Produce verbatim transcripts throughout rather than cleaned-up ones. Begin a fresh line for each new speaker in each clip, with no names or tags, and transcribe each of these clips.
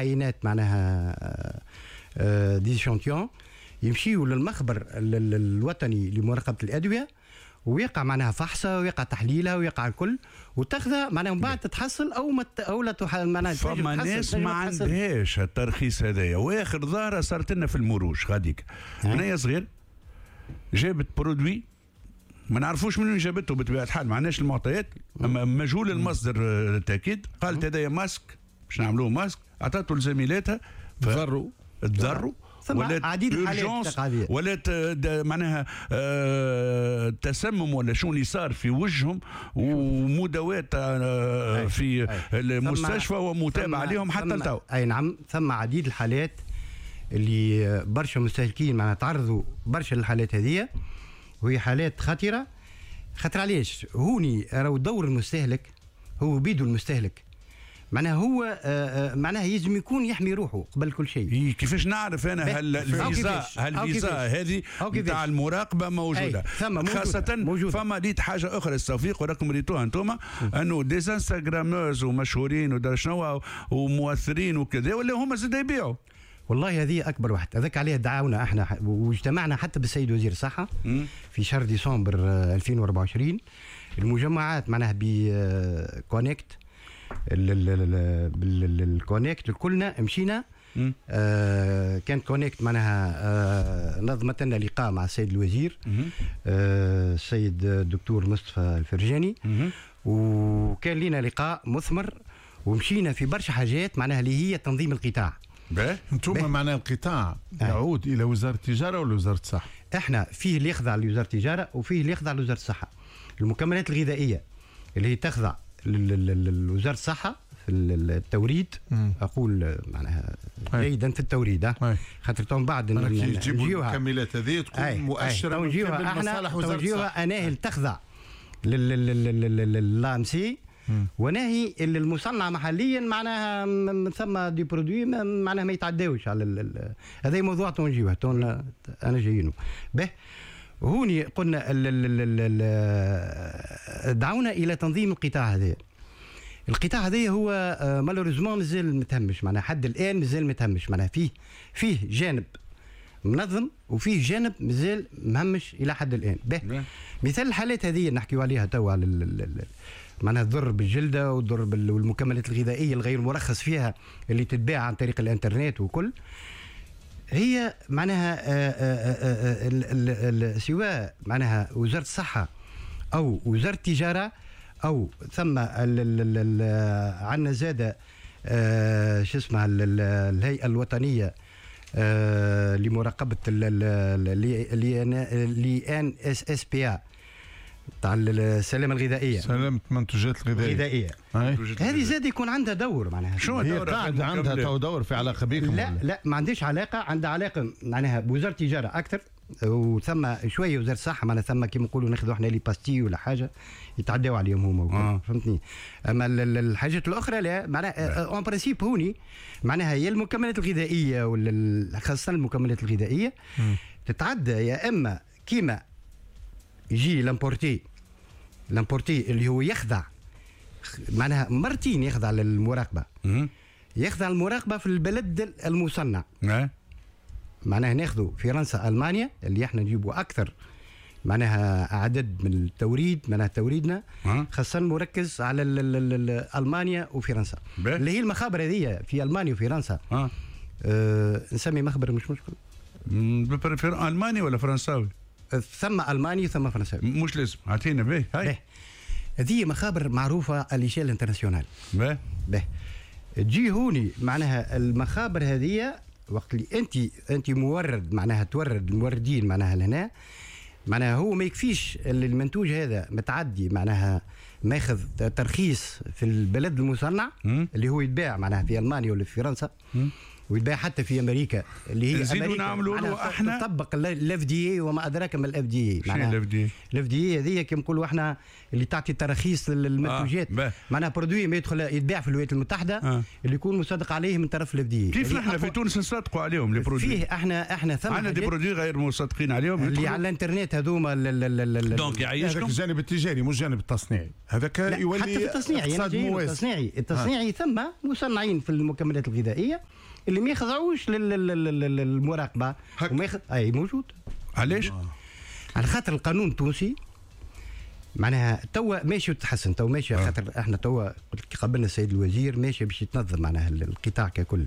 عينات معناها des échantillons يمشيوا للمخبر الوطني لمراقبه الادويه، ويقع معناها فحصه ويقع تحليلها ويقع الكل وتاخذها معناها من بعد تتحصل او ما او لا تح... معناها
فما ناس ما عندهاش الترخيص هذايا. واخر ظاهره صارت لنا في المروج غاديك، بنيه صغير جابت produit ما نعرفوش من وين جابته بطبيعة الحال، ما عندناش المعطيات، اما مجهول المصدر التاكيد. قالت هذايا ماسك باش نعملوه ماسك، عطاته لزميلاتها
تضروا
تضروا
ولات عديد الحالات،
ولات معناها آه تسمم ولا شو اللي صار في وجههم، ومداوات آه في المستشفى ومتابعة عليهم حتى لتو.
اي نعم، ثم عديد الحالات اللي برشا مستهلكين معناها تعرضوا برشا للحالات هذه، وهي حالات خطيره. خاطر علاش هوني راهو دور المستهلك هو بيدو المستهلك معناها هو معناها يلزم يكون يحمي روحه قبل كل شيء.
إيه كيفاش نعرف انا هل الفيزا هل الفيزا هذه نتاع المراقبة موجودة؟
ثم
خاصة موجودة. فما ريت حاجة اخرى التوفيق وراكم ريتوها انتم، انه des instagrameuses ومشهورين ودار شنو ومؤثرين وكذا، ولا هما زاد يبيعوا.
والله هذه اكبر واحد، هذاك عليه دعونا احنا واجتمعنا حتى بالسيد وزير الصحة في شهر ديسمبر ألفين وأربعة وعشرين. المجمعات معناها ب CONECT بال CONECT كلنا مشينا. آه كانت CONECT معناها آه نظمت لنا لقاء مع السيد الوزير آه السيد الدكتور مصطفى الفرجاني، وكان لنا لقاء مثمر ومشينا في برشا حاجات معناها اللي هي تنظيم القطاع.
انتم معناها القطاع يعود الى وزارة التجارة ولا وزارة الصحة؟
احنا فيه اللي يخضع لوزارة التجارة وفيه اللي يخضع لوزارة الصحة. المكملات الغذائية اللي هي تخضع لوزارة الصحة في التوريد. مم. اقول معناها جيدا في التوريد، خاطر تو من بعد
نجيبوا المكملات هذه تكون مؤشره
من مصالح وزارة الصحة. اناهي تخضع لل AMC وناهي اللي المصنع محليا معناها ثم des produits معناها ما يتعداوش على هذا موضوع تو نجيوه تو انا جايينه به. هوني قلنا ال ال ال دعونا الى تنظيم القطاع هذا. القطاع هذا هو malheureusement مازال متهمش، معناها حد الان مازال متهمش، معناها فيه فيه جانب منظم وفيه جانب مازال مهمش الى حد الان. به مثال الحالات هذه اللي نحكيو عليها توا على معناها الضر بالجلده والضر بالمكملات الغذائية الغير مرخص فيها اللي تتباع عن طريق الانترنت وكل، هي معناها سواء معناها وزارة الصحة او وزارة التجارة او ثم عندنا زاده شو اسمها الهيئة الوطنية لمراقبه l'INSSPA تاع السلامة الغذائية،
سلامه المنتوجات الغذائية
الغذائية. هذه زاد يكون عندها دور معناها.
شو دور قاعد عندها تو دور في علاقة بكم؟
لا لا ما عندهاش علاقة، عندها علاقة معناها بوزارة التجارة اكثر، وثم شوية وزارة الصحة معناها ثم كيما نقولوا ناخذوا احنا les pastilles ولا حاجة يتعداو عليهم هما آه. فهمتني. اما الحاجات الاخرى لا معناها en principe هوني معناها هي المكملات الغذائية ولا خاصة المكملات الغذائية م. تتعدى يا اما كيما يجي l'importé l'importé اللي هو يخضع معناها مرتين يخضع للمراقبه، يخضع المراقبة في البلد المصنع. معناها ناخذوا فرنسا المانيا اللي احنا نجيبوا اكثر معناها عدد من التوريد، معناها توريدنا خاصة مركز على ال ال ال المانيا وفرنسا اللي هي المخابر هذه في المانيا وفرنسا. أه. أه نسمي مخبر مش مشكل،
الماني ولا فرنساوي؟
ثم الماني ثم فرنساوي،
مش لازم اعطينا به. هاي
هذه مخابر معروفة à l'échelle internationale.
به
به تجي هوني معناها المخابر هذه وقت اللي انت انت مورد معناها تورد الموردين معناها لهنا معناها هو ما يكفيش المنتوج هذا متعدي معناها ماخذ ترخيص في البلد المصنع م? اللي هو يتباع معناها في المانيا ولا في فرنسا ويتباع حتى في امريكا اللي هي
امريكا نعملوا له احنا
تطبق ال FDA وما ادراك ما ال FDA.
معناها ال FDA
ال FDA هذه كيما نقولوا احنا اللي تعطي تراخيص للمنتوجات آه. معناها produit ما يدخل يتباع في الولايات المتحدة آه. اللي يكون مصدق عليه من طرف ال FDA.
كيف نحن في تونس نصدقوا عليهم les produits؟
فيه احنا احنا ثم
عندنا des produits غير مصدقين عليهم
اللي على الانترنت هذوما
donc يعيشكم
الجانب التجاري مش الجانب التصنيعي. هذاك يولي
حتى في التصنيع، يعني التصنيعي التصنيعي آه. ثم مصنعين في المكملات الغذائية اللي ما يخضعوش للمراقبه وما يخ... اي موجود.
علاش؟
على خاطر القانون التونسي معناها توا ماشي وتحسن، توا ماشي آه. خاطر احنا توا قبلنا السيد الوزير ماشي باش يتنظم معناها القطاع ككل،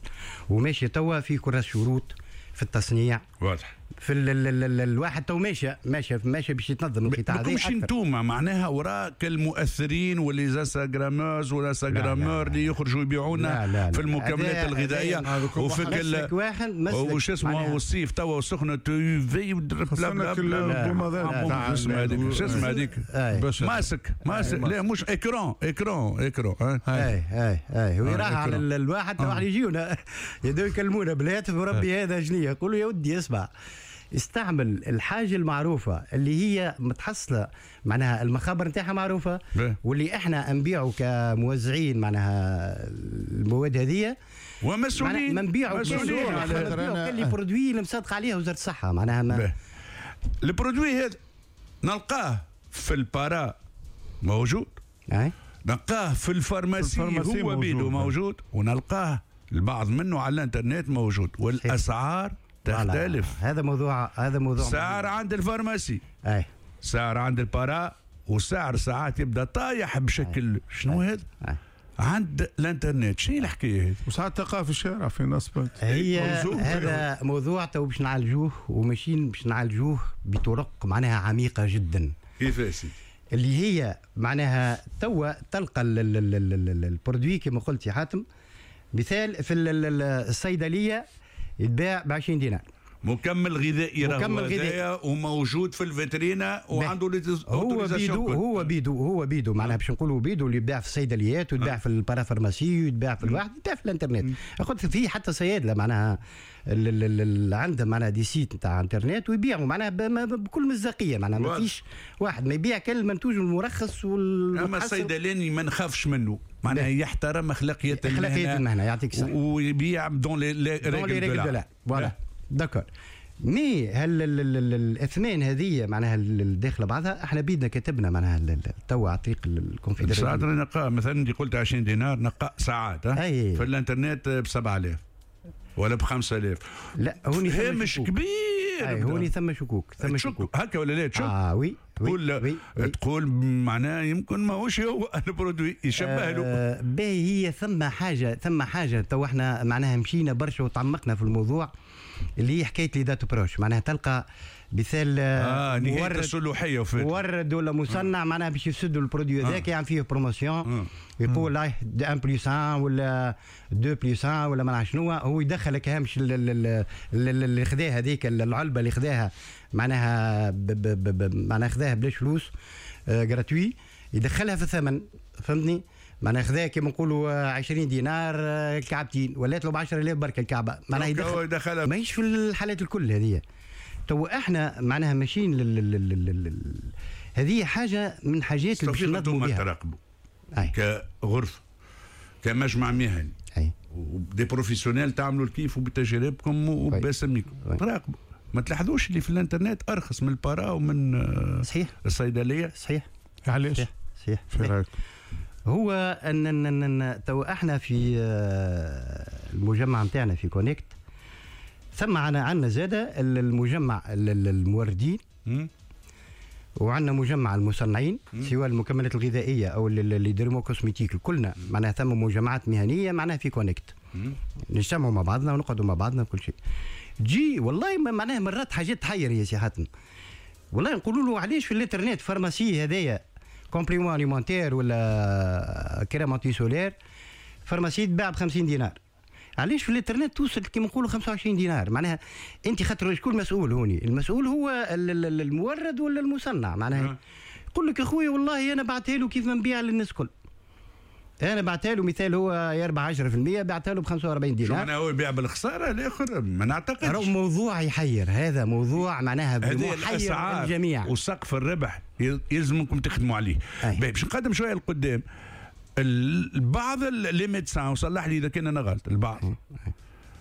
وماشي توا في كراس شروط في التصنيع
واضح
في ال ال ال الواحد تو ماشي ماشي ماشي باش يتنظم القطاع هذا.
مش انتوما معناها وراك المؤثرين و les instagrameuses ولا instagrameurs اللي يخرجوا يبيعونا في المكملات الغذائية وفي كل وش اسمه والصيف توا وسخنه في
بلا بلا
شو اسمه هذيك شو اسمه هذيك masque masque لا مش écran écran écran
اي اي اي ويراح على الواحد واحد يجيونا يدو يكلمونا بالهاتف وربي هذا شنو يقولوا يا ودي اسمع استعمل الحاجة المعروفة اللي هي متحصله معناها المخابر نتاعها معروفة
بي.
واللي احنا نبيعوا كموزعين معناها المواد هذه
ومسؤولين
ما نبيعوا
مسؤولين
على les produits اللي مصدق عليها وزارة الصحة معناها ما
ال produit هذا نلقاه في ال para موجود
أي؟
نلقاه في ال pharmacie هو بيدو موجود، ونلقاه البعض منه على الانترنت موجود، والاسعار تختلف.
هذا موضوع هذا موضوع
سعر عند ال pharmacie
اي
سعر عند ال para، وسعر ساعات يبدا طايح بشكل شنو هذا عند الانترنت. شنو الحكاية هذه؟
وساعات تلقاه في الشارع في ناس
هي هذا موضوع تو باش نعالجوه وماشيين باش نعالجوه بطرق معناها عميقة جدا.
كيفاش؟
اللي هي معناها توا تلقى ال produit كما قلت يا حاتم، مثال في الصيدلية يتباع ب عشرين دينار
مكمل غذائي،
مكمل غذائي
وموجود في الفيترينا وعنده
هو بيدو هو بيدو هو بيدو معناها باش نقولوا بيدو اللي يتباع في الصيدليات ويتباع في ال parapharmacie ويتباع في الواحد يتباع في الانترنت. قلت فيه حتى صيادله معناها اللي عندهم معناها des sites نتاع انترنت ويبيعوا معناها بكل مصداقية، معناها ما فيش واحد ما يبيع كل المنتوج المرخص وال
اما الصيدلاني ما نخافش منه معناها يحترم اخلاقية المهنة،
اخلاقية المهنة يعطيك الصحة،
ويبيع dans les règles de
l'art voilà d'accord. mais هل الاثمان هذه معناها الداخلة بعضها احنا بيدنا كتبنا معناها توا على طريق الكونفدراليه.
ساعات نلقى مثلا اللي قلت عشرين دينار نلقى ساعات في الانترنت ب سبعة آلاف ولا ب خمسة آلاف.
لا هوني
هامش كبير،
هوني ثم شكوك ثم شكوك
هكا ولا لا؟ تشك
اه oui
تقول
oui.
تقول معناها يمكن ماهوش هو ال produit يشبه له.
آه باهي هي ثم حاجة ثم حاجة تو احنا معناها مشينا برشا وتعمقنا في الموضوع اللي هي حكاية les dates proches، معناها تلقى مثال
آه نهاية الصلوحيه
مورد ولا مصنع آه. معناها باش يفسدوا ال produit هذاك يعمل فيه promotion آه. يقول لا واحد plus واحد ولا اثنين plus واحد ولا ما نعرف شنو، هو يدخلك هامش اللي خذاها هذيك العلبة اللي خذاها معناها معناها خذاها بلاش فلوس gratuit يدخلها في الثمن، فهمتني؟ معناها خذاها كيما نقولوا عشرين دينار كعبتين ولات له ب عشرة آلاف بركة الكعبة، معناها يدخل ماهيش في الحالات الكل هذه. تو احنا معناها ماشيين لل... لل... لل... هذه حاجة من حاجات اللي باش ننظموا بها.
تراقبوا كغرفه كمجمع مهني و des professionnels تعملوا الكيف وبتجاربكم وباسميكم تراقبوا، ما تلاحظوش اللي في الانترنت ارخص من ال para ومن
صحيح
الصيدلية؟
صحيح.
علاش؟
صحيح صحيح.
في رايك؟
هو ان ان ان تو احنا في المجمع نتاعنا في كونكت ثم عندنا زاده المجمع الموردين وعندنا مجمع المصنعين سواء المكملات الغذائية او les dermocosmétiques، كلنا معناها ثم مجمعات مهنية معناها في كونكت نجتمعوا مع بعضنا ونقعدوا مع بعضنا وكل شيء. تجي والله معناها مرات حاجات تحير يا سي حاتم، والله نقولوا له علاش في الانترنت pharmacie هذايا complément alimentaire ولا crème anti-solaire pharmacie تباع ب خمسين دينار، علاش في الانترنت توصل كيما نقولوا خمسة وعشرين دينار؟ معناها انت خاطر شكون المسؤول هوني؟ المسؤول هو المورد ولا المصنع؟ معناها يقول لك اخويا والله انا بعتها له كيف ما نبيع للناس الكل، انا بعتها له مثال هو يربح عشرة بالمية بعتها له ب خمسة وأربعين دينار.
شو معناها هو يبيع بالخساره الاخر؟ ما نعتقدش.
موضوع يحير، هذا موضوع معناها محير الجميع،
وسقف الربح يلزمكم تخدموا عليه. باش نقدم شوية لقدام البعض les médecins، وصلح لي اذا كان انا غلط، البعض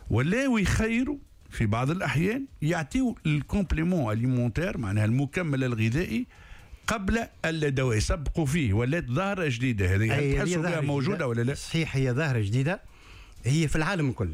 ولاو يخيروا في بعض الاحيان يعطيو ال complément alimentaire معناها المكمل الغذائي قبل الدواء، يسبقوا فيه، ولات ظاهره جديدة هذه، تحسوا بها موجودة ولا لا؟
صحيح، هي ظاهره جديده، هي في العالم الكل.